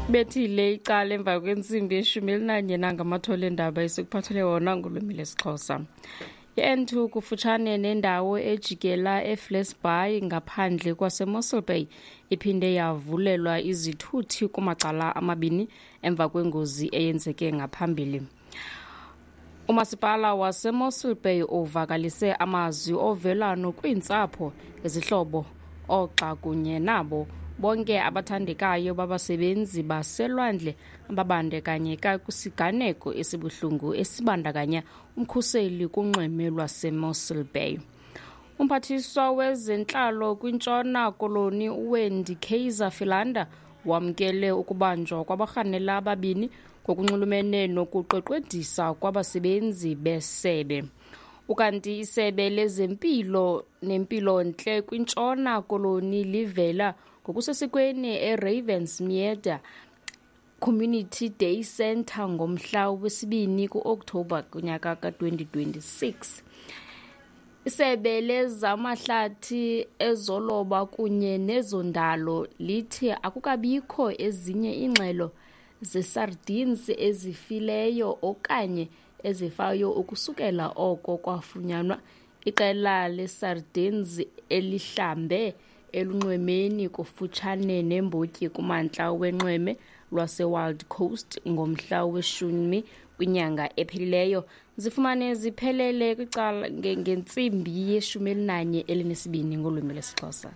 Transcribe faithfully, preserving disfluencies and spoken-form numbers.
Bethile icala emva kwentsimbi yeshumi elinanye nangamathole endaba esikuphathele wona ngolwimi lesiXhosa. I-N two kufutshane nendawo ejikela eFlesbaai ngaphandle kwaseMossel Bay iphinde yavulelwa izithuthi kumacala amabini emva kwengozi eyenzeke ngaphambili. Umasipala waseMossel Bay uvakalise amazwi ovelwano kwiintsapho, izihlobo, oogxa kunye nabo bonke abathandekayo babasebenzi baselwandle ababandakanyeka kwisiganeko esibuhlungu esibandakanya umkhuseli kunxweme lwaseMossel Bay. Umphathiswa wezentlalo kwiNtshona Koloni uWendy Kaiser Philander wamkele ukubanjwa kwabarhanela ababini ngokunxulumene nokuqweqwedisa kwabasebenzi besebe. Ukanti isebe lezempilo nempilontle kwiNtshona Koloni livela ngokusesikweni eRavensmead Community Day Centre ngomhla wesibini ku-Okthobha kunyaka ka-twenty twenty-six. Isebe lezamahlathi, ezoloba kunye nezondalo lithi akukabikho ezinye iingxelo zesardines ezifileyo okanye ezifayo ukusukela oko kwafunyanwa iqela lesardines elihlambe elunxwemeni kufutshane nembotyi kumantla wenxweme lwaseWild Coast ngomhla weshumi kwinyanga ephelileyo. Zifumane ziphelele kwicala ngentsimbi yeshumi elinanye elinesibini ngolwimi lwesiXhosa.